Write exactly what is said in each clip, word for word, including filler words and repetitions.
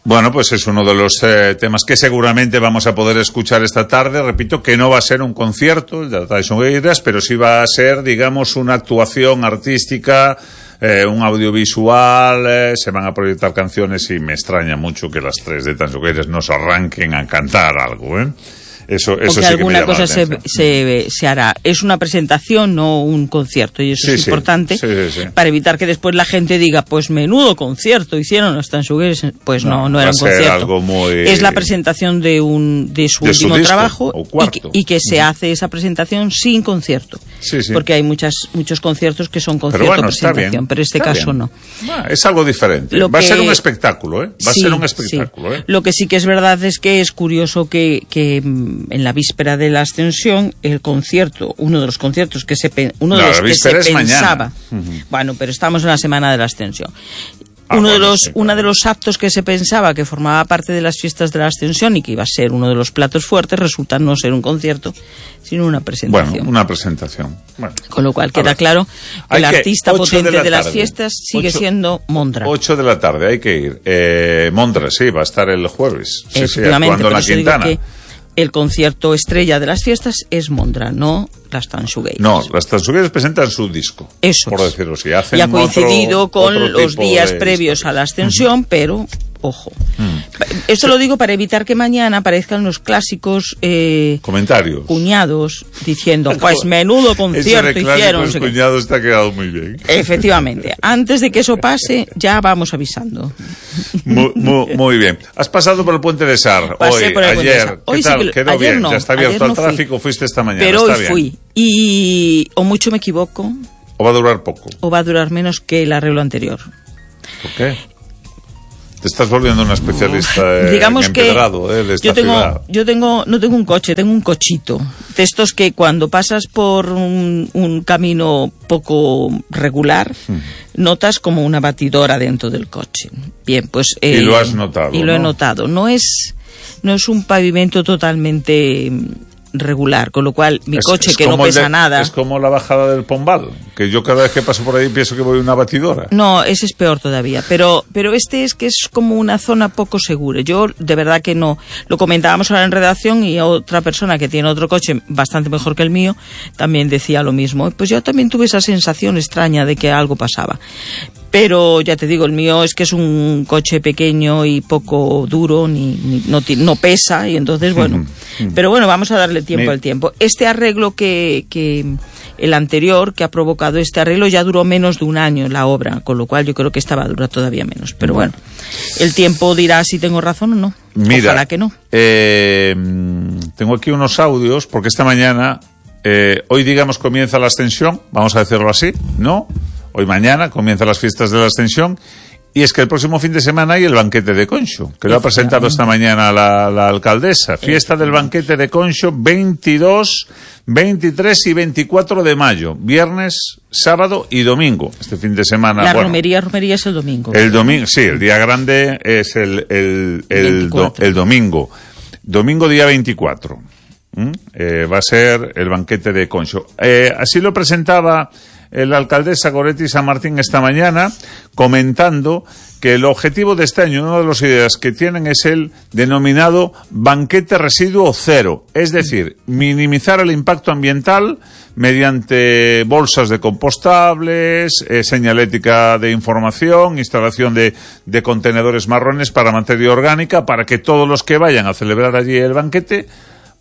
Bueno, pues es uno de los eh, temas que seguramente vamos a poder escuchar esta tarde. Repito que no va a ser un concierto, el de Tyson Gueiras, pero sí va a ser, digamos, una actuación artística, eh, un audiovisual, eh, se van a proyectar canciones y me extraña mucho que las tres de Tyson Gueiras nos arranquen a cantar algo, ¿eh? Eso, eso o que sí alguna que cosa se, se, se hará. Es una presentación, no un concierto, y eso sí, es sí, importante sí, sí, sí. para evitar que después la gente diga, pues menudo concierto hicieron los Tansugueres. Pues no, no, no era un concierto. Algo muy... Es la presentación de un de su de último su disco, trabajo y que, y que se hace esa presentación sin concierto. Sí, sí. Porque hay muchas muchos conciertos que son concierto pero bueno, presentación, pero este caso bien. no. Bueno, es algo diferente. Lo Va que... a ser un espectáculo, ¿eh? Va sí, a ser un espectáculo, sí. ¿eh? Lo que sí que es verdad es que es curioso que, que en la víspera de la Ascensión, el concierto, uno de los conciertos que se uno de no, los que se pensaba, uh-huh. bueno, pero estamos en la semana de la Ascensión. Ah, uno bueno, de los sí, uno claro. de los actos que se pensaba que formaba parte de las fiestas de la Ascensión y que iba a ser uno de los platos fuertes resulta no ser un concierto, sino una presentación. Bueno, una presentación. Bueno, con lo cual queda claro que el que artista potente de, la de las tarde. fiestas sigue ocho, siendo Mondra. ocho de la tarde, hay que ir. Eh, Mondra, sí, va a estar el jueves. Sí, Efectivamente, sí, actuando en la Quintana. Que el concierto estrella de las fiestas es Mondra, no las Tansugueiras. No, las Tansugueiras presentan su disco. Eso por es. decirlo así. Hacen y ha coincidido otro, con otro los días de previos historias. a la Ascensión, mm. pero, ojo. Mm. Esto sí. Lo digo para evitar que mañana aparezcan los clásicos eh, comentarios. Cuñados diciendo, pues menudo concierto Ese hicieron. Los cuñados te ha quedado muy bien. Efectivamente. Antes de que eso pase, ya vamos avisando. Muy, muy, muy bien. ¿Has pasado por el Puente de Sar Pasé hoy, por el ayer? Puente de Sar. Hoy ¿Qué tal? Sí que, ¿Quedó ayer bien? No, ¿Ya está abierto el no tráfico? Fui. Fuiste esta mañana. Pero está hoy bien. fui. Y o mucho me equivoco. ¿O va a durar poco? O va a durar menos que el arreglo anterior. ¿Por qué? Te estás volviendo una especialista eh, Digamos en que empedrado eh, de esta yo tengo, ciudad. yo tengo, no tengo un coche, tengo un cochito. De estos que cuando pasas por un, un camino poco regular, hmm. notas como una batidora dentro del coche. Bien, pues... Eh, y lo has notado, Y lo ¿no? he notado. No es, no es un pavimento totalmente regular, con lo cual mi es, coche es que no pesa de, nada... Es como la bajada del Pombal, que yo cada vez que paso por ahí pienso que voy a una batidora. No, ese es peor todavía, pero pero este es que es como una zona poco segura. Yo de verdad que no, lo comentábamos ahora en redacción y otra persona que tiene otro coche bastante mejor que el mío también decía lo mismo. Pues yo también tuve esa sensación extraña de que algo pasaba. Pero ya te digo, el mío es que es un coche pequeño y poco duro, ni, ni no, no pesa, y entonces, bueno. Uh-huh. Pero bueno, vamos a darle tiempo Me... al tiempo. Este arreglo que, que el anterior, que ha provocado este arreglo, ya duró menos de un año la obra, con lo cual yo creo que esta va a durar todavía menos. Pero bueno, el tiempo dirá si tengo razón o no. Mira, ojalá que no. Eh, tengo aquí unos audios, porque esta mañana, eh, hoy digamos comienza la Ascensión, vamos a decirlo así, ¿no? Hoy mañana comienzan las fiestas de la Ascensión y es que el próximo fin de semana hay el banquete de Conxo, que lo ha presentado esta mañana la, la alcaldesa. Fiesta del banquete de Conxo veintidós, veintitrés y veinticuatro de mayo, viernes, sábado y domingo. Este fin de semana... La bueno, romería, romería es el domingo. El domingo, sí, el día grande es el, el, el, do, el domingo. Domingo día veinticuatro. ¿Mm? Eh, va a ser el banquete de Conxo. Eh, así lo presentaba... la alcaldesa Goretti San Martín esta mañana, comentando que el objetivo de este año, una de las ideas que tienen es el denominado banquete residuo cero, es decir, minimizar el impacto ambiental mediante bolsas de compostables, eh, señalética de información, instalación de, de contenedores marrones para materia orgánica, para que todos los que vayan a celebrar allí el banquete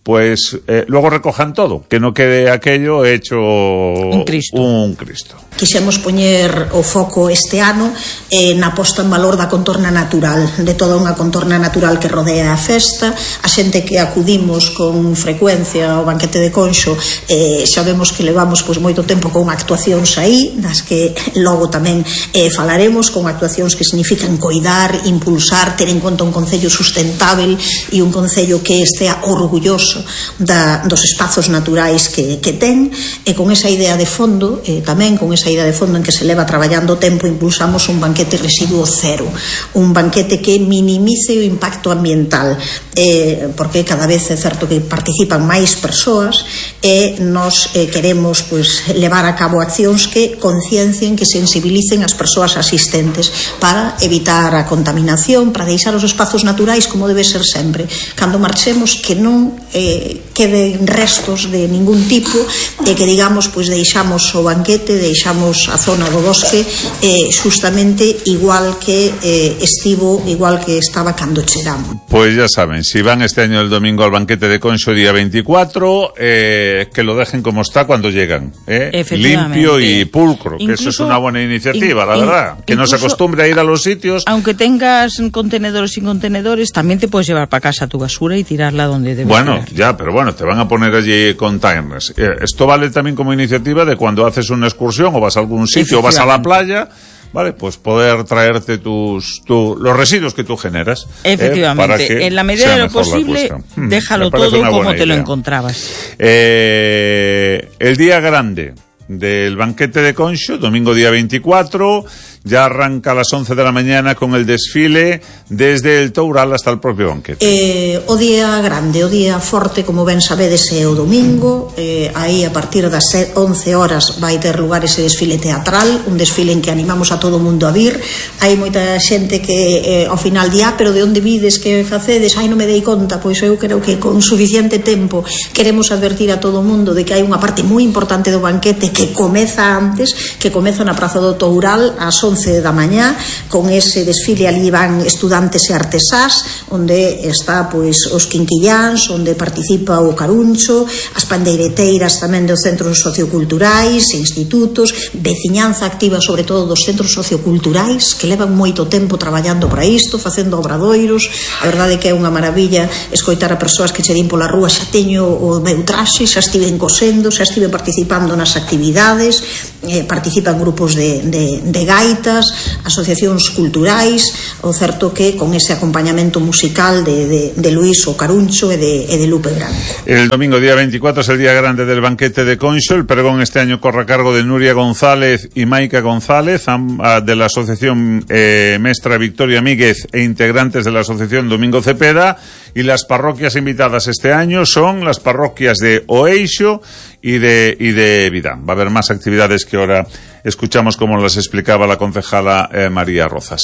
pues eh, luego recojan todo, que no quede aquello hecho un Cristo. Un Cristo. Quixemos poñer o foco este ano eh, na posta en valor da contorna natural, de toda unha contorna natural que rodea a festa. A xente que acudimos con frecuencia ao banquete de Conxo eh, sabemos que levamos pois, moito tempo con actuacións aí, das que logo tamén eh, falaremos, con actuacións que significan coidar, impulsar, ter en conta un concello sustentável e un concello que estea orgulloso uso da, dos espazos naturais que, que ten, e con esa idea de fondo, e tamén con esa idea de fondo en que se leva traballando o tempo, impulsamos un banquete residuo cero, un banquete que minimice o impacto ambiental, eh, porque cada vez é certo que participan máis persoas e nos eh, queremos pues, levar a cabo accións que conciencien, que sensibilicen as persoas asistentes para evitar a contaminación, para deixar os espazos naturais como debe ser sempre. Cando marchemos, que non eh, queden restos de ningún tipo, e que digamos, pues, deixamos o banquete, deixamos a zona do bosque eh, justamente igual que eh, estivo, igual que estaba cando chegamos. Pues ya saben, si van este año el domingo al banquete de Conxo día veinticuatro, eh, que lo dejen como está cuando llegan, eh, limpio y pulcro, incluso, que eso es una buena iniciativa, in, la verdad, in, que no se acostumbre a ir a los sitios. Aunque tengas contenedores sin contenedores, también te puedes llevar para casa tu basura y tirarla donde debes. Bueno, tirar. ya, pero bueno, te van a poner allí containers. Eh, esto vale también como iniciativa de cuando haces una excursión o vas a algún sitio o vas a la playa, vale, pues poder traerte tus tu, los residuos que tú generas. Efectivamente, eh, para que en la medida de lo posible, hmm, déjalo todo como te idea. Lo encontrabas. Eh, el día grande del banquete de Conxo, domingo día veinticuatro, ya arranca a las once de la mañana con el desfile desde el Toural hasta el propio banquete. Eh, o día grande, o día forte, como ben sabedes, é o domingo. Eh, aí a partir das once horas vai ter lugar ese desfile teatral, un desfile en que animamos a todo o mundo a vir. Hai moita xente que eh, ao final di, ah, pero de onde vides, que facedes? Ai, non me dei conta. Pois eu creo que con suficiente tempo queremos advertir a todo o mundo de que hai unha parte moi importante do banquete que comeza antes, que comeza na Praza do Toural ás once da mañá, con ese desfile. Ali van estudantes e artesás, onde está pois os quinquilláns, onde participa o Caruncho, as pandeireteiras tamén dos centros socioculturais, institutos, veciñanza activa sobre todo dos centros socioculturais, que levan moito tempo traballando para isto, facendo obradoiros. A verdade é que é unha maravilla escoitar a persoas que che din pola rúa, xa teño o meu traxe, xa estiven cosendo, xa estive participando nas actividades, eh, participan grupos de, de, de gaitas, asociacións culturais. O certo que con ese acompañamento musical de, de, de Luis o Caruncho e de, e de Lupe Branco. El domingo día veinticuatro es el día grande del banquete de Conxo. El pregón este año corre a cargo de Nuria González y Maica González, de la asociación eh, Mestra Victoria Míguez e integrantes de la asociación Domingo Cepeda, y las parroquias invitadas este año son las parroquias de Oeixo y de, y de Vidán. Va a haber más actividades que ahora escuchamos como las explicaba la concejala eh, María Rozas.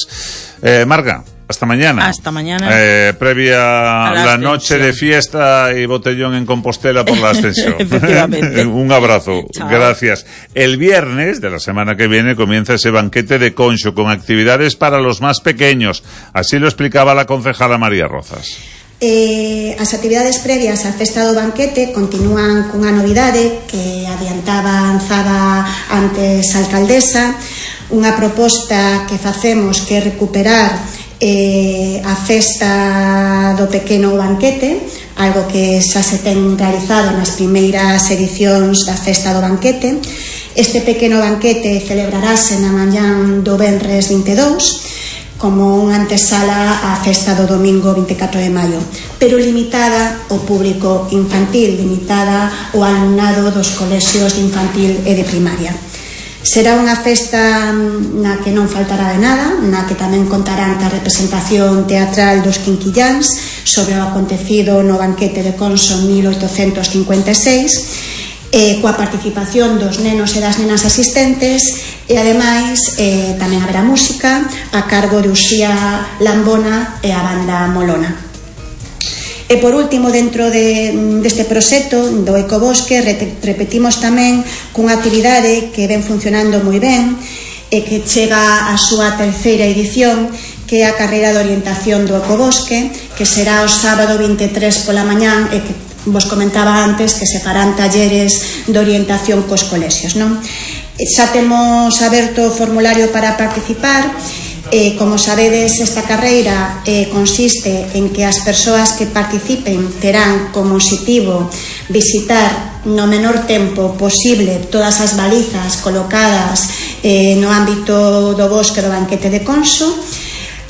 Eh, Marga, hasta mañana. Hasta mañana. Eh, previa a la noche de fiesta y botellón en Compostela por la ascensión. Efectivamente. Un abrazo. Chao. Gracias. El viernes de la semana que viene comienza ese banquete de Conxo con actividades para los más pequeños. Así lo explicaba la concejala María Rozas. Eh, as actividades previas á festa do banquete continúan cunha novidade que adiantaba avanzada antes a alcaldesa, unha proposta que facemos que é recuperar eh, a festa do pequeno banquete, algo que xa se ten realizado nas primeiras edicións da festa do banquete. Este pequeno banquete celebrarase na mañán do venres vinte e dous, como unha antesala á festa do domingo vinte e catro de maio, pero limitada ao público infantil, limitada ao alumnado dos colexios de infantil e de primaria. Será unha festa na que non faltará de nada, na que tamén contarán ca representación teatral dos quinquilláns sobre o acontecido no banquete de Conxo en mil oitocentos cincuenta e seis, eh, coa participación dos nenos e das nenas asistentes, e ademais eh, tamén haberá música a cargo de Uxía Lambona e a banda Molona. E por último, dentro de, deste proxecto do Ecobosque, repetimos tamén cunha actividade que ven funcionando moi ben e que chega a súa terceira edición, que é a carreira de orientación do Ecobosque, que será o sábado vinte e tres pola mañán, e que vos comentaba antes que se farán talleres de orientación cos colexios, non? Xa temos aberto o formulario para participar. Eh, como sabedes, esta carreira eh, consiste en que as persoas que participen terán como objetivo visitar no menor tempo posible todas as balizas colocadas eh, no ámbito do bosque do banquete de Conxo.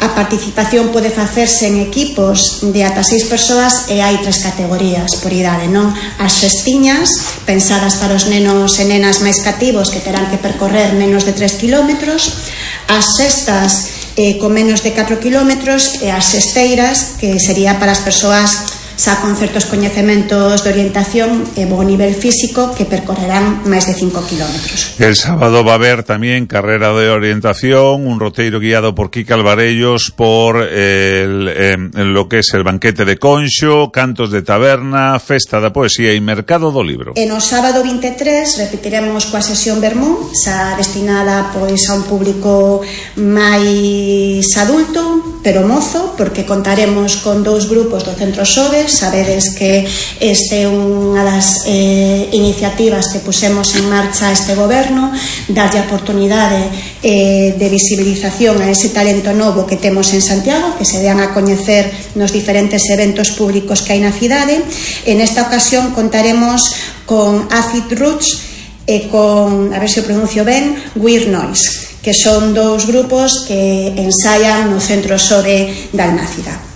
A participación pode facerse en equipos de ata seis persoas e hai tres categorías por idade, non? As cestiñas, pensadas para os nenos e nenas máis cativos que terán que percorrer menos de tres kilómetros, as cestas eh, con menos de catro kilómetros e as cesteiras, que sería para as persoas xa con certos coñecementos de orientación e bo nivel físico que percorrerán máis de cinco kilómetros. El sábado va a haber también carrera de orientación, un roteiro guiado por Kika Alvarellos por el, eh, lo que es el banquete de Conxo, cantos de taberna, festa da poesía e mercado do libro. E no sábado vinte e tres repetiremos coa sesión Vermú, xa destinada pois a un público máis adulto, pero mozo, porque contaremos con dous grupos do Centro Xoves. Sabedes que este é unha das eh, iniciativas que pusemos en marcha este goberno, darlle a oportunidade eh, de visibilización a ese talento novo que temos en Santiago, que se dean a coñecer nos diferentes eventos públicos que hai na cidade. En esta ocasión contaremos con Acid Roots e con, a ver se o pronuncio ben, Weird Noise, que son dous grupos que ensaian no Centro Xove da Almácida.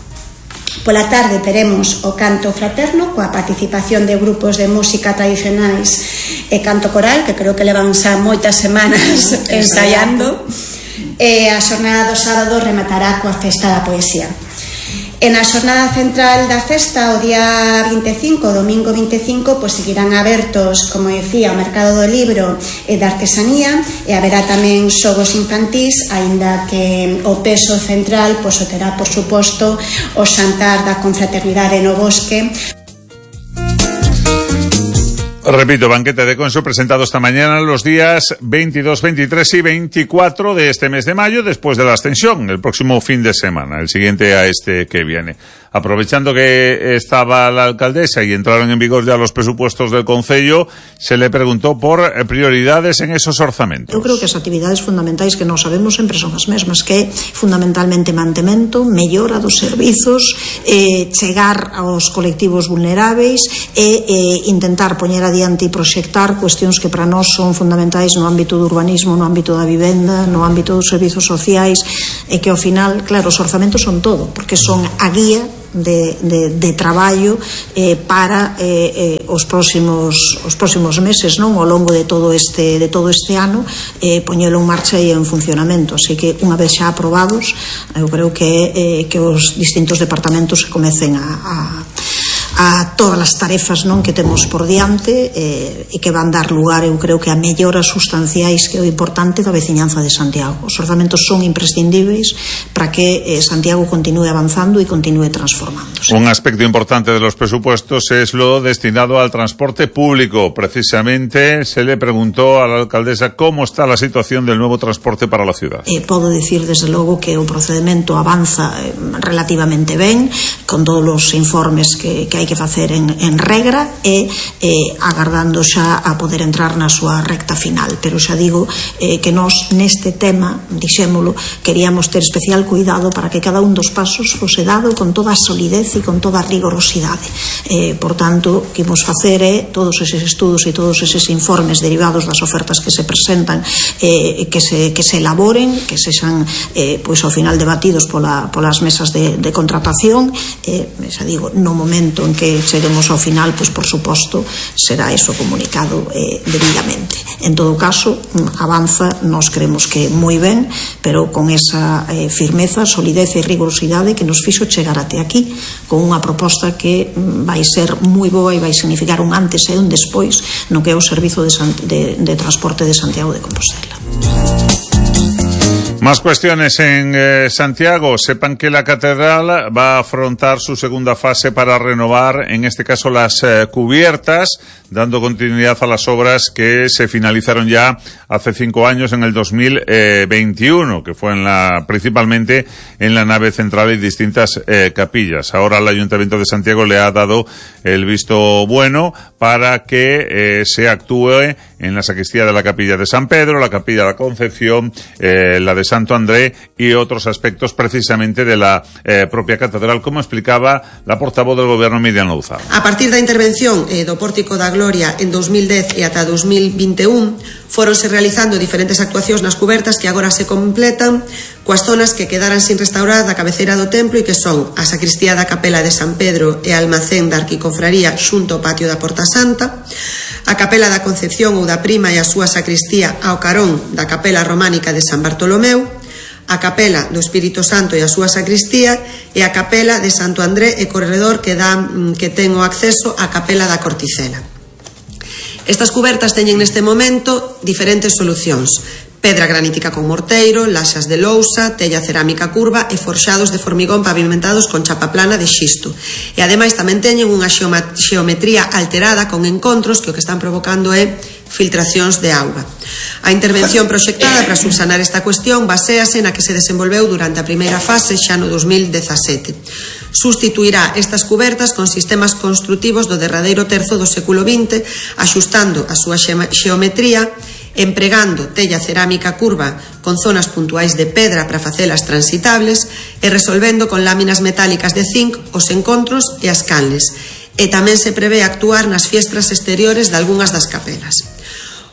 Pola tarde teremos o canto fraterno coa participación de grupos de música tradicionais e canto coral, que creo que levan xa moitas semanas ensaiando, e a xornada do sábado rematará coa festa da poesía. E na xornada central da festa, o día vinte e cinco, domingo vinte e cinco, pois seguirán abertos, como decía, o mercado do libro e da artesanía, e haberá tamén xogos infantís, aínda que o peso central pois o terá, por suposto, o xantar da confraternidade no bosque. Repito, banquete de Conxo presentado esta mañana los días veintidós, veintitrés y veinticuatro de este mes de mayo, después de la ascensión, el próximo fin de semana, el siguiente a este que viene. Aprovechando que estaba la alcaldesa y entraron en vigor ya los presupuestos del Concello, se le preguntó por prioridades en esos orzamentos. Eu creo que as actividades fundamentais que nós sabemos sempre son as mesmas, que é fundamentalmente mantemento, mellora dos servizos, eh, chegar aos colectivos vulneráveis e eh, intentar poñer adiante e proxectar cuestións que para nós son fundamentais no ámbito do urbanismo, no ámbito da vivenda, no ámbito dos servizos sociais, e que ao final, claro, os orzamentos son todo, porque son a guía De, de, de traballo eh, para eh, eh, os próximos os próximos meses, non, ao longo de todo este de todo este ano, eh, poñelo en marcha e en funcionamento. Así que unha vez xa aprobados, eu creo que eh, que os distintos departamentos se comecen a, a a todas as tarefas, non, que temos por diante eh, e que van dar lugar, eu creo que a melloras sustanciais que é o importante da veciñanza de Santiago. Os orzamentos son imprescindíveis para que eh, Santiago continúe avanzando e continúe transformándose. Un aspecto importante de los presupuestos es lo destinado al transporte público. Precisamente se le preguntó a la alcaldesa cómo está la situación del nuevo transporte para la ciudad. Eh, podo dicir desde logo que o procedimento avanza eh, relativamente ben, con todos os informes que, que hai que facer en, en regra e eh, agardando xa a poder entrar na súa recta final. Pero xa digo eh, que nós neste tema, dixémolo, queríamos ter especial cuidado para que cada un dos pasos fose dado con toda a solidez e con toda a rigorosidade. Eh, por tanto, que imos facer é todos eses estudos e todos eses informes derivados das ofertas que se presentan, eh, que, se, que se elaboren, que sexan eh, pois ao final debatidos pola, polas mesas de, de contratación, eh, xa digo, no momento en que cheguemos ao final, pois por suposto será eso comunicado eh, debidamente. En todo caso, avanza, nós creemos que moi ben, pero con esa eh, firmeza, solidez e rigorosidade que nos fixo chegar até aquí, con unha proposta que vai ser moi boa e vai significar un antes e un despois no que é o servizo de, de, de transporte de Santiago de Compostela. Más cuestiones en eh, Santiago. Sepan que la catedral va a afrontar su segunda fase para renovar, en este caso, las eh, cubiertas, dando continuidad a las obras que se finalizaron ya hace cinco años, en el dos mil veintiuno, que fue en la, principalmente en la nave central y distintas eh, capillas. Ahora el Ayuntamiento de Santiago le ha dado el visto bueno para que eh, se actúe en la sacristía de la Capilla de San Pedro, la Capilla de la Concepción, eh, la de Santo André y otros aspectos precisamente de la eh, propia catedral, como explicaba la portavoz del Gobierno, Miriam Louzao. A partir da intervención eh, do Pórtico da Gloria en dos mil dez e ata dos mil vinte e un, Fóronse realizando diferentes actuacións nas cubertas que agora se completan coas zonas que quedaran sin restaurar da cabeceira do templo e que son a sacristía da capela de San Pedro e almacén da arquicofraría xunto ao patio da Porta Santa, a capela da Concepción ou da Prima e a súa sacristía ao carón da capela románica de San Bartolomeu, a capela do Espírito Santo e a súa sacristía e a capela de Santo André e Corredor que, dá, que ten o acceso á capela da Corticela. Estas cubertas teñen neste momento diferentes solucións: pedra granítica con morteiro, laxas de lousa, tella cerámica curva e forxados de formigón pavimentados con chapa plana de xisto. E ademais tamén teñen unha xeometría alterada con encontros que o que están provocando é filtracións de auga. A intervención proxectada para subsanar esta cuestión baséase na que se desenvolveu durante a primeira fase xa no dos mil dezasete. Sustituirá estas cubertas con sistemas construtivos do derradeiro terzo do século vinte, axustando a súa xeometría, empregando tella cerámica curva con zonas puntuais de pedra para facelas transitables e resolvendo con láminas metálicas de zinc os encontros e as canles. E tamén se prevé actuar nas fiestras exteriores de algunhas das capelas.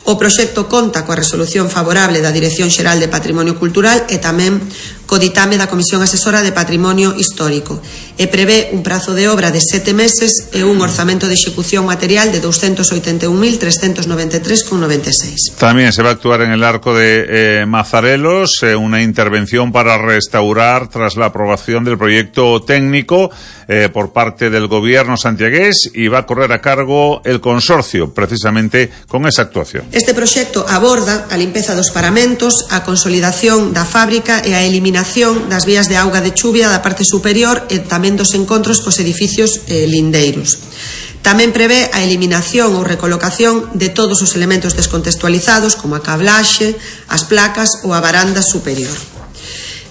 O proxecto conta coa resolución favorable da Dirección Xeral de Patrimonio Cultural e tamén co ditame da Comisión Asesora de Patrimonio Histórico e prevé un prazo de obra de sete meses e un orzamento de execución material de doscientos ochenta y un mil trescientos noventa y tres coma noventa y seis. También se va a actuar en el arco de eh, Mazarelos, eh, una intervención para restaurar tras la aprobación del proyecto técnico eh, por parte del gobierno santiagués, y va a correr a cargo el consorcio precisamente con esa actuación. Este proxecto aborda a limpeza dos paramentos, a consolidación da fábrica e a eliminación das vías de auga de chuvia da parte superior e tamén dos encontros cos edificios eh, lindeiros. Tamén prevé a eliminación ou recolocación de todos os elementos descontextualizados como a cablaxe, as placas ou a varanda superior.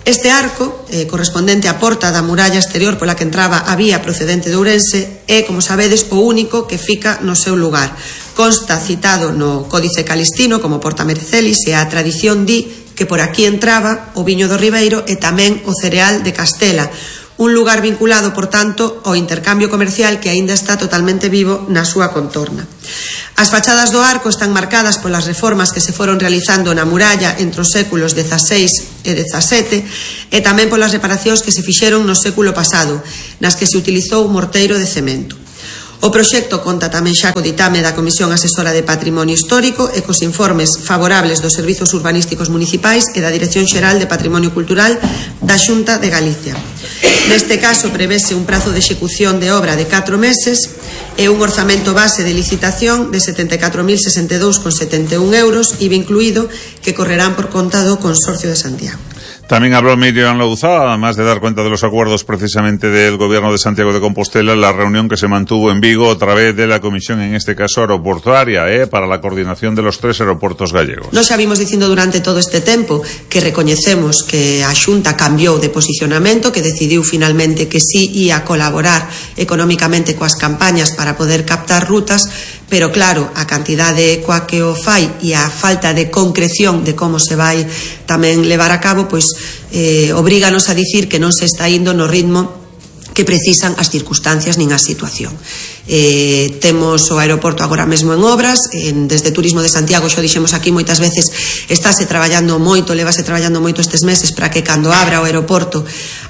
Este arco, eh, correspondente á porta da muralla exterior pola que entraba a vía procedente de Ourense, é, como sabedes, o único que fica no seu lugar. Consta citado no Códice Calistino como Porta Mercelis e a tradición di que por aquí entraba o viño do Ribeiro e tamén o cereal de Castela, un lugar vinculado, por tanto, ao intercambio comercial que aínda está totalmente vivo na súa contorna. As fachadas do arco están marcadas polas reformas que se foron realizando na muralla entre os séculos dezaseis e dezasete e tamén polas reparacións que se fixeron no século pasado, nas que se utilizou un morteiro de cemento. O proxecto conta tamén xa co ditame da Comisión Asesora de Patrimonio Histórico e cos informes favorables dos Servizos Urbanísticos Municipais e da Dirección Xeral de Patrimonio Cultural da Xunta de Galicia. Neste caso prevese un prazo de execución de obra de catro meses e un orzamento base de licitación de setenta e catro mil sesenta e dous coma setenta e un euros, I V A incluído, que correrán por conta do Consorcio de Santiago. También habló Miriam Louzá, además de dar cuenta de los acuerdos precisamente del Gobierno de Santiago de Compostela, en la reunión que se mantuvo en Vigo a través de la Comisión, en este caso aeroportuaria, eh, para la coordinación de los tres aeroportos gallegos. Nos xa vimos dicindo durante todo este tempo que recoñecemos que a Xunta cambiou de posicionamento, que decidiu finalmente que sí ia colaborar económicamente coas campañas para poder captar rutas, pero claro, a cantidade coa que o fai e a falta de concreción de como se vai tamén levar a cabo, pois eh, obríganos a dicir que non se está indo no ritmo que precisan as circunstancias nin a situación. Eh, temos o aeroporto agora mesmo en obras, en, desde Turismo de Santiago, xo dixemos aquí moitas veces, estáse traballando moito, levase traballando moito estes meses para que cando abra o aeroporto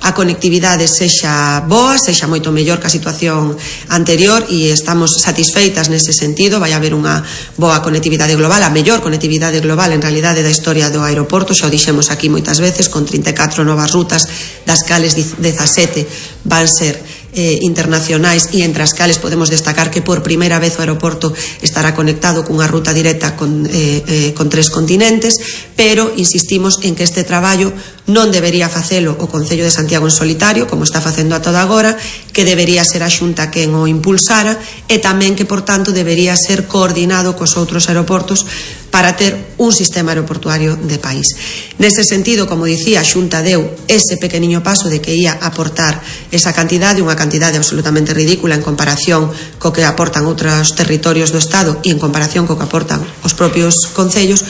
a conectividade sexa boa, sexa moito mellor que a situación anterior, e estamos satisfeitas nese sentido. Vai haber unha boa conectividade global, a mellor conectividade global en realidade da historia do aeroporto, xa o dixemos aquí moitas veces, con trinta e catro novas rutas, das cales dezasete van ser eh, internacionais, e entre as cales podemos destacar que por primeira vez o aeroporto estará conectado cunha ruta directa con, eh, eh, con tres continentes, pero insistimos en que este traballo non debería facelo o Concello de Santiago en solitario, como está facendo a toda agora, que debería ser a Xunta quen o impulsara, e tamén que, por tanto, debería ser coordinado cos outros aeroportos para ter un sistema aeroportuario de país. Nese sentido, como dicía, a Xunta deu ese pequeniño paso de que ia aportar esa cantidade, unha cantidade absolutamente ridícula en comparación co que aportan outros territorios do Estado e en comparación co que aportan os propios concellos,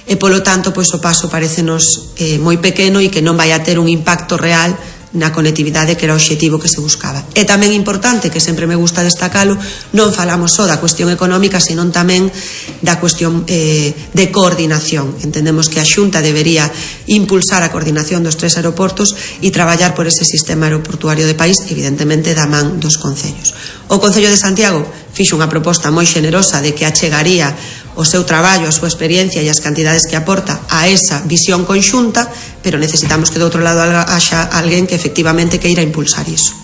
e polo tanto, pois o paso parecenos eh, moi pequeno e que non vai a ter un impacto real na conectividade que era o obxectivo que se buscaba. É tamén importante, que sempre me gusta destacalo, non falamos só da cuestión económica, senón tamén da cuestión eh, de coordinación. Entendemos que a Xunta debería impulsar a coordinación dos tres aeroportos e traballar por ese sistema aeroportuario de país, evidentemente da man dos concellos. O Concello de Santiago fixo unha proposta moi xenerosa de que achegaría o seu traballo, a súa experiencia e as cantidades que aporta a esa visión conxunta, pero necesitamos que do outro lado haxa alguén que efectivamente queira impulsar iso.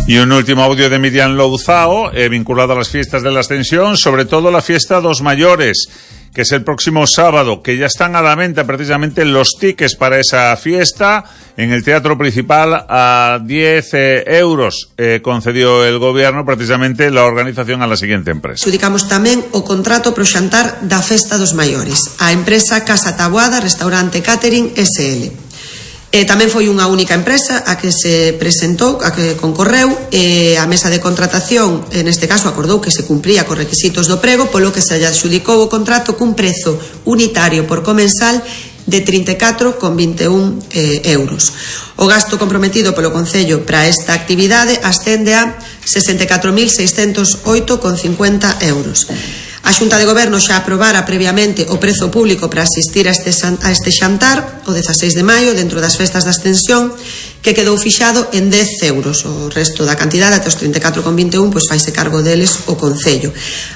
Y un último audio de Miriam Louzao, eh, vinculado a las fiestas de la Ascensión, sobre todo la fiesta dos mayores, que es el próximo sábado, que ya están a la venta precisamente los tickets para esa fiesta en el Teatro Principal a diez eh, euros. Eh, concedió el gobierno precisamente la organización a la siguiente empresa. Adjudicamos tamén o contrato pro xantar da Festa dos Maiores, a empresa Casa Taboada Restaurante Catering S L. Eh, tamén foi unha única empresa a que se presentou, a que concorreu, e a mesa de contratación, en este caso, acordou que se cumpría cos requisitos do prego, polo que se adxudicou o contrato cun prezo unitario por comensal de trinta e catro con vinte e un eh, euros. O gasto comprometido polo Concello para esta actividade ascende a sesenta e catro mil seiscentos oito con cincuenta euros. A Xunta de Goberno xa aprobara previamente o prezo público para asistir a este, a este xantar o dezaseis de maio dentro das festas da Ascensión, que quedou fixado en dez euros. O resto da cantidade, até os trinta e catro con vinte e un, pois faise cargo deles o Concello.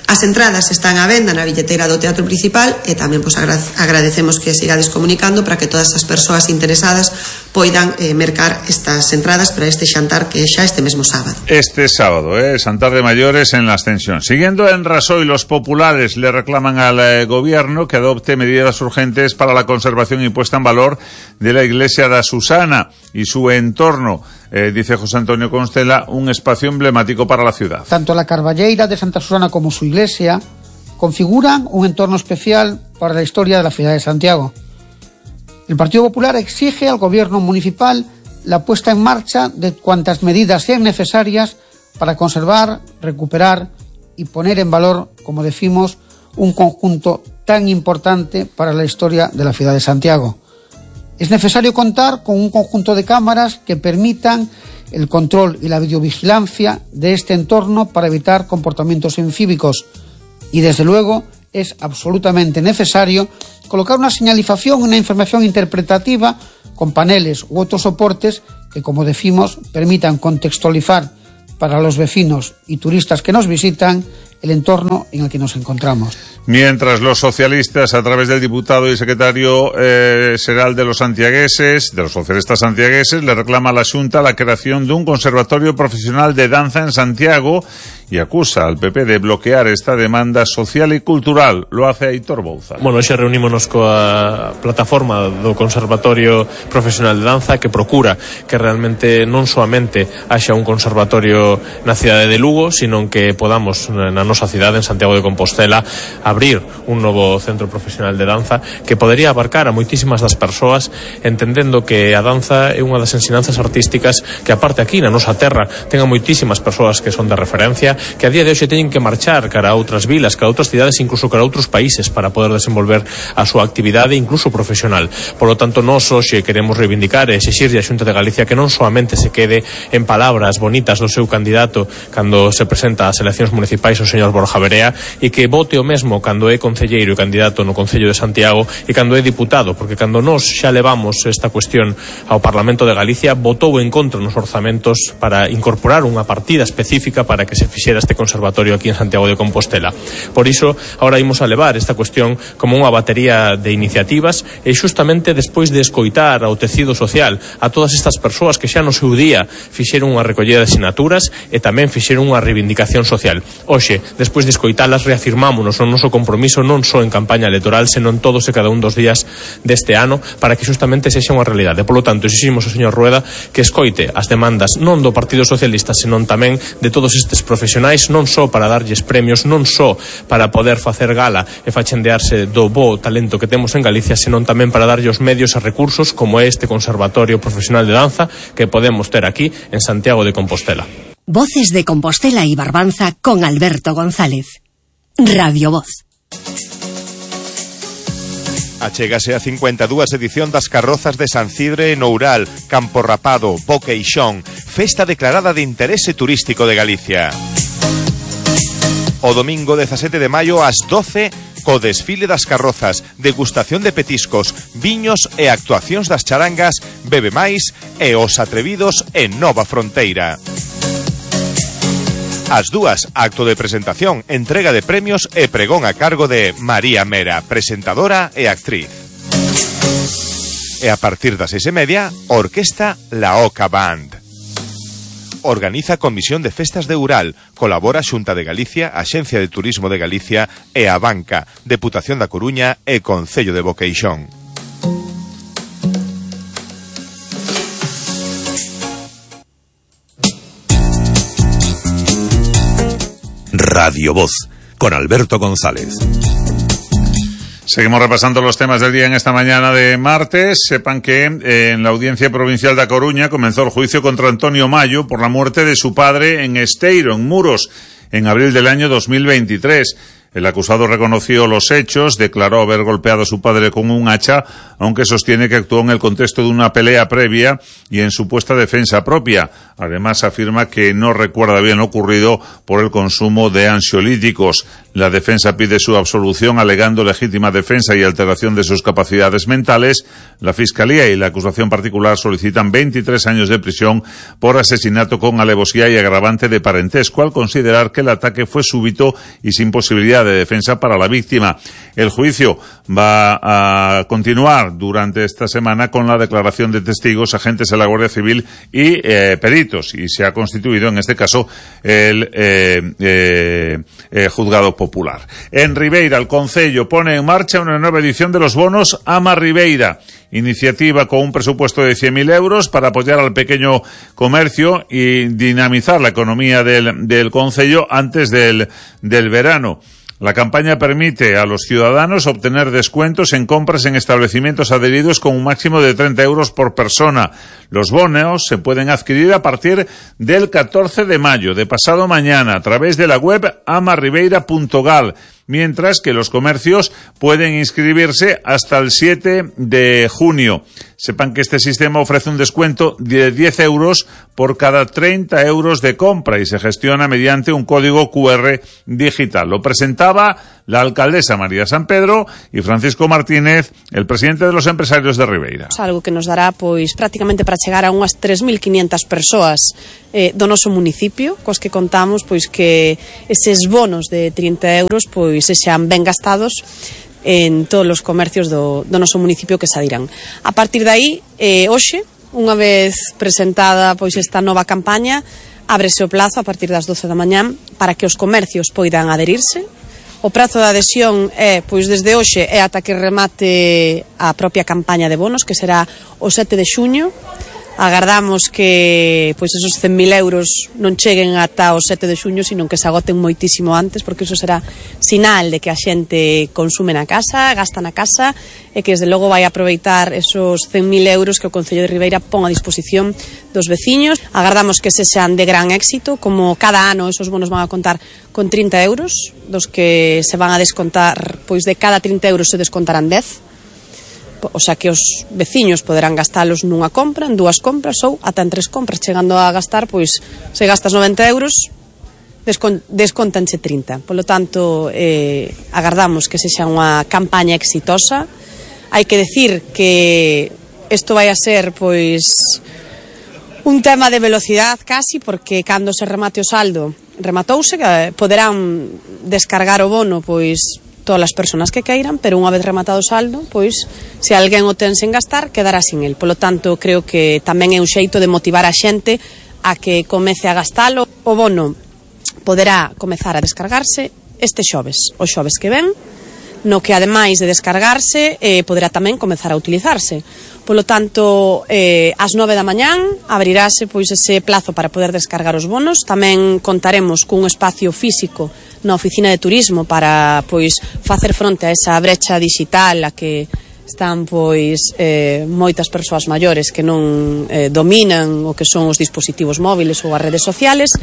As entradas están á venda na billeteira do Teatro Principal e tamén pois, agradecemos que sigades comunicando para que todas as persoas interesadas poidan eh, mercar estas entradas para este xantar que é xa este mesmo sábado. Este sábado, eh, xantar de mayores en la Ascensión. Siguiendo en Rasoy, los populares le reclaman al eh, gobierno que adopte medidas urgentes para la conservación y puesta en valor de la iglesia de Susana y su entorno. Eh, dice José Antonio Constela, un espacio emblemático para la ciudad. Tanto la Carballeira de Santa Susana como su iglesia configuran un entorno especial para la historia de la ciudad de Santiago. El Partido Popular exige al gobierno municipal la puesta en marcha de cuantas medidas sean necesarias para conservar, recuperar y poner en valor, como decimos, un conjunto tan importante para la historia de la ciudad de Santiago. Es necesario contar con un conjunto de cámaras que permitan el control y la videovigilancia de este entorno para evitar comportamientos incívicos y, desde luego, es absolutamente necesario colocar una señalización, una información interpretativa con paneles u otros soportes que, como decimos, permitan contextualizar para los vecinos y turistas que nos visitan el entorno en el que nos encontramos. Mientras los socialistas, a través del diputado y secretario eh, xeral de los santiagueses, de los socialistas santiagueses, le reclama a la Xunta la creación de un conservatorio profesional de danza en Santiago y acusa al P P de bloquear esta demanda social y cultural. Lo hace Aitor Bouza. Bueno, hoxe reunímonos coa plataforma do Conservatorio Profesional de Danza, que procura que realmente non soamente haxa un conservatorio na cidade de Lugo, sino que podamos na nosa cidade, en Santiago de Compostela, abrir un novo centro profesional de danza que podería abarcar a moitísimas das persoas, entendendo que a danza é unha das ensinanzas artísticas que, aparte aquí na nosa terra, tenga moitísimas persoas que son de referencia, que a día de hoxe teñen que marchar cara a outras vilas, cara a outras cidades, incluso cara a outros países para poder desenvolver a súa actividade, incluso profesional. Por lo tanto, nós hoxe queremos reivindicar e exixirlle a Xunta de Galicia que non soamente se quede en palabras bonitas do seu candidato cando se presenta ás eleccións municipais o señor Borja Verea, e que vote o mesmo cando é concelleiro e candidato no Concello de Santiago e cando é diputado, porque cando nós xa levamos esta cuestión ao Parlamento de Galicia, votou en contra nos orzamentos para incorporar unha partida específica para que se fixera este conservatorio aquí en Santiago de Compostela. Por iso, agora imos a levar esta cuestión como unha batería de iniciativas e xustamente despois de escoitar ao tecido social, a todas estas persoas que xa no seu día fixeron unha recollida de sinaturas e tamén fixeron unha reivindicación social. Hoxe, despois de escoitalas, reafirmámonos o noso compromiso non só en campaña electoral, senón todos e cada un dos días deste ano para que xustamente sexa unha realidade. Por lo tanto, exiximos ao señor Rueda que escoite as demandas non do Partido Socialista, senón tamén de todos estes profesionais, non só para darlles premios, non só para poder facer gala e fachendearse do bo talento que temos en Galicia, senón tamén para darlle os medios e recursos como este Conservatorio Profesional de Danza que podemos ter aquí en Santiago de Compostela. Voces de Compostela y Barbanza con Alberto González. Radio Voz. Achégase a cincuenta e dúas edición das carrozas de San Cidre en Oural, Campo Rapado, Boqueixón, festa declarada de interese turístico de Galicia. O domingo dezasete de maio ás doce, co desfile das carrozas, degustación de petiscos, viños e actuacións das charangas, Bebe Máis e Os Atrevidos en Nova Fronteira. As dúas, acto de presentación, entrega de premios e pregón a cargo de María Mera, presentadora e actriz. E a partir das seis e media, orquesta La Oca Band. Organiza Comisión de Festas de Oural, colabora Xunta de Galicia, Axencia de Turismo de Galicia e a Banca, Deputación da Coruña e Concello de Boqueixón. Radio Voz, con Alberto González. Seguimos repasando los temas del día en esta mañana de martes. Sepan que eh, en la Audiencia Provincial da Coruña comenzó el juicio contra Antonio Mayo por la muerte de su padre en Esteiro, en Muros, en abril del año dos mil veintitrés. El acusado reconoció los hechos, declaró haber golpeado a su padre con un hacha, aunque sostiene que actuó en el contexto de una pelea previa y en supuesta defensa propia. Además, afirma que no recuerda bien lo ocurrido por el consumo de ansiolíticos. La defensa pide su absolución alegando legítima defensa y alteración de sus capacidades mentales. La Fiscalía y la acusación particular solicitan veintitrés años de prisión por asesinato con alevosía y agravante de parentesco, al considerar que el ataque fue súbito y sin posibilidad de defensa para la víctima. El juicio va a continuar durante esta semana con la declaración de testigos, agentes de la Guardia Civil y eh, peritos, y se ha constituido en este caso el eh, eh, eh, juzgado popular. En Ribeira, el Concello pone en marcha una nueva edición de los bonos Ama Ribeira, iniciativa con un presupuesto de cien mil euros para apoyar al pequeño comercio y dinamizar la economía del, del Concello antes del, del verano. La campaña permite a los ciudadanos obtener descuentos en compras en establecimientos adheridos con un máximo de treinta euros por persona. Los bonos se pueden adquirir a partir del catorce de mayo, de pasado mañana, a través de la web amarribeira punto gal, mientras que los comercios pueden inscribirse hasta el siete de junio. Sepan que este sistema ofrece un descuento de diez euros por cada treinta euros de compra y se gestiona mediante un código cu erre digital. Lo presentaba la alcaldesa María San Pedro y Francisco Martínez, el presidente de los empresarios de Ribeira. Algo que nos dará pois prácticamente para chegar a unhas tres mil quinientas persoas eh, do noso municipio, cos que contamos pois que eses bonos de trinta euros pois se xan ben gastados en todos os comercios do, do noso municipio que se adiran. A partir de aí, eh, hoxe, unha vez presentada pois esta nova campaña, ábrese o plazo a partir das doce da mañán para que os comercios poidan aderirse. O prazo de adhesión é, pois desde hoxe, é ata que remate a propia campaña de bonos, que será o sete de xuño. Agardamos que pois esos cen mil euros non cheguen ata o sete de xuño, sino que se agoten moitísimo antes, porque iso será sinal de que a xente consume na casa, gasta na casa, e que desde logo vai aproveitar esos cen mil euros que o Concello de Ribeira pon a disposición dos veciños. Agardamos que se sean de gran éxito, como cada ano esos bonos van a contar con trinta euros, dos que se van a descontar, pois de cada trinta euros se descontarán dez. O sea que os veciños poderán gastalos nunha compra, en dúas compras ou ata en tres compras, chegando a gastar, pois se gastas noventa euros descon descontanche trinta. Por lo tanto, eh, agardamos que sexa unha campaña exitosa. Hai que decir que isto vai a ser pois un tema de velocidade casi, porque cando se remate o saldo rematouse, que poderán descargar o bono pois todas as persoas que queiran, pero unha vez rematado o saldo, pois, se alguén o ten sen gastar, quedará sin el. Polo tanto, creo que tamén é un xeito de motivar a xente a que comece a gastalo. O bono poderá comezar a descargarse este xoves, o xoves que ven, no que ademais de descargarse, eh, poderá tamén comezar a utilizarse. Polo tanto, eh, ás nove da mañán abrirase pois ese plazo para poder descargar os bonos. Tamén contaremos cun espacio físico na oficina de turismo para pois facer fronte a esa brecha digital a que están pois eh, moitas persoas maiores que non eh, dominan o que son os dispositivos móviles ou as redes sociales.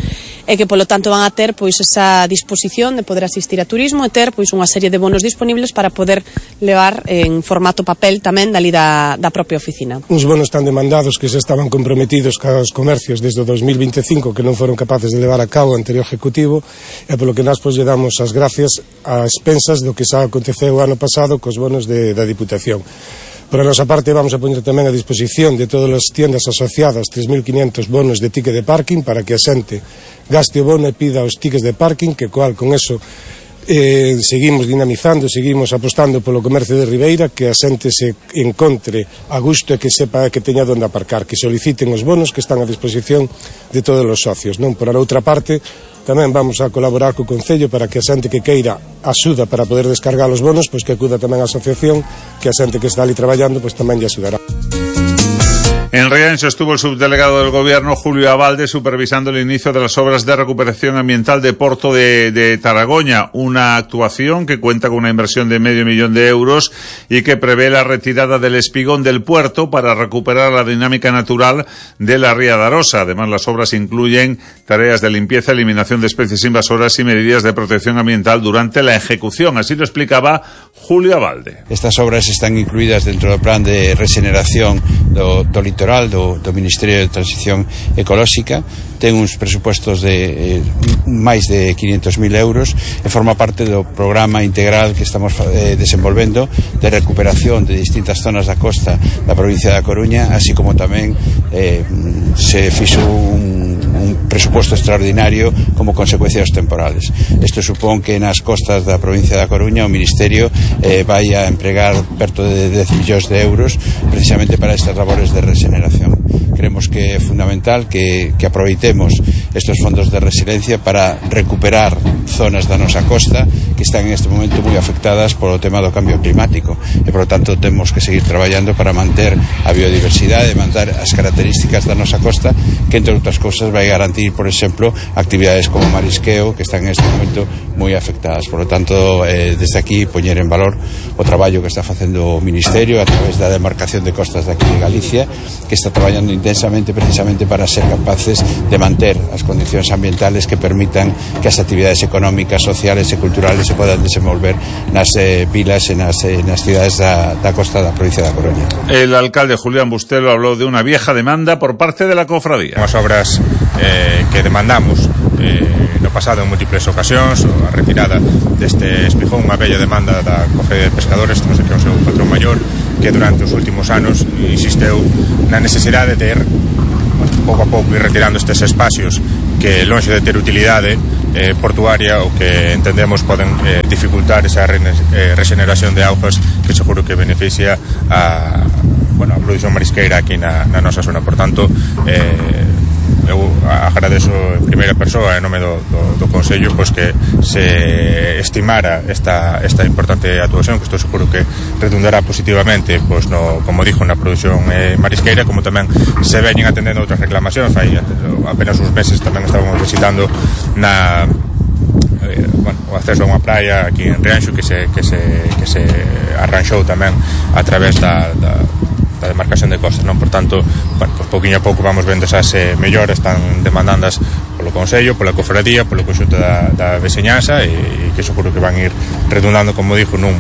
e que polo tanto van a ter pois esa disposición de poder asistir a turismo e ter pois unha serie de bonos disponibles para poder levar en formato papel tamén dali da, da propia oficina. Uns bonos tan demandados que se estaban comprometidos cos comercios desde o dos mil veinticinco que non foron capaces de levar a cabo o anterior Ejecutivo, e polo que nós pois lle damos as gracias a expensas do que xa aconteceu o ano pasado cos bonos de, da Diputación. Por a nosa parte vamos a poñer tamén a disposición de todas as tiendas asociadas tres mil quinientos bonos de ticket de parking para que a xente gaste o bono e pida os tickets de parking, que cual con eso eh, seguimos dinamizando, seguimos apostando polo comercio de Ribeira, que a xente se encontre a gusto e que sepa que teña onde aparcar, que soliciten os bonos que están a disposición de todos os socios, non? Por a outra parte, tamén vamos a colaborar co Concello para que a xente que queira axuda para poder descargar os bonos, pois que acuda tamén a asociación, que a xente que está ali traballando pois tamén lle axudará. En Rianxo estuvo el subdelegado del Gobierno, Julio Abalde, supervisando el inicio de las obras de recuperación ambiental de Porto de, de Taragoña, una actuación que cuenta con una inversión de medio millón de euros y que prevé la retirada del espigón del puerto para recuperar la dinámica natural de la ría de Arosa. Además, las obras incluyen tareas de limpieza, eliminación de especies invasoras y medidas de protección ambiental durante la ejecución. Así lo explicaba Julio Abalde. Estas obras están incluídas dentro del plan de regeneración do, do litoral do, do Ministerio de Transición Ecolóxica. Ten uns presupostos de eh, máis de quinhentos mil euros e forma parte do programa integral que estamos eh, desenvolvendo de recuperación de distintas zonas da costa da provincia da Coruña, así como tamén eh, se fixo un, un presuposto extraordinario como consecuencia dos temporales. Isto supón que nas costas da provincia da Coruña o Ministerio eh, vai a empregar perto de dez millóns de euros precisamente para estas labores de regeneración. Creemos que é fundamental que, que aproveitemos estes fondos de resiliencia para recuperar zonas da nosa costa que están en este momento moi afectadas polo tema do cambio climático e, por lo tanto, temos que seguir traballando para manter a biodiversidade e manter as características da nosa costa, que, entre outras cousas, vai garantir, por exemplo, actividades como marisqueo que están en este momento moi afectadas. Por lo tanto, eh, desde aquí, poñer en valor o traballo que está facendo o Ministerio a través da demarcación de costas de aquí de Galicia, que está traballando intensamente precisamente para ser capaces de manter as condicións ambientales que permitan que as actividades económicas, sociales e culturales se podan desenvolver nas eh, vilas e nas, eh, nas cidades da, da costa da provincia da Coruña. El alcalde Julián Bustelo habló de una vieja demanda por parte de la cofradía. Unhas obras eh, que demandamos eh, no pasado en múltiples ocasións, a retirada deste espijón, unha bella demanda da Cofradía de Pescadores, non sei que é o seu patrón maior, que durante os últimos anos insisteu na necesidade de ter, bueno, pouco a pouco ir retirando estes espacios que, lonxe de ter utilidade eh, portuaria, o que entendemos poden eh, dificultar esa re, eh, regeneración de augas que seguro que beneficia a, bueno, a produción marisqueira aquí na, na nosa zona. Por tanto, eh, eu agradezo en primeira persoa en nome do, do, do Consello pois que se estimara esta, esta importante actuación, que estou seguro que redundará positivamente pois no, como dixo, na produción eh, marisqueira, como tamén se veñen atendendo outras reclamacións. Hai apenas uns meses tamén estábamos visitando na eh, bueno, o acceso a unha praia aquí en Rianxo que se, que se, que se arranxou tamén a través da, da da demarcación de costas, non? Por tanto, bueno, pues pouquinho a pouco vamos vendo esas eh, mellores están demandandas polo Consello, pola Cofradía, polo conxunto da, da veciñanza, e, e que seguro que van ir redundando, como dixo, nun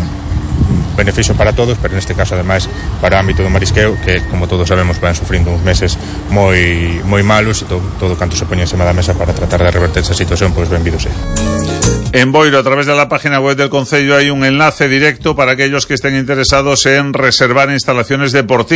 beneficio para todos, pero neste caso, ademais, para o ámbito do marisqueo, que, como todos sabemos, van sufrindo uns meses moi moi malos, e todo, todo canto se poñe encima da mesa para tratar de reverter esa situación, pois pues, benvido sea. En Boiro, a través de la página web del Concello, hay un enlace directo para aquellos que estén interesados en reservar instalaciones deportivas.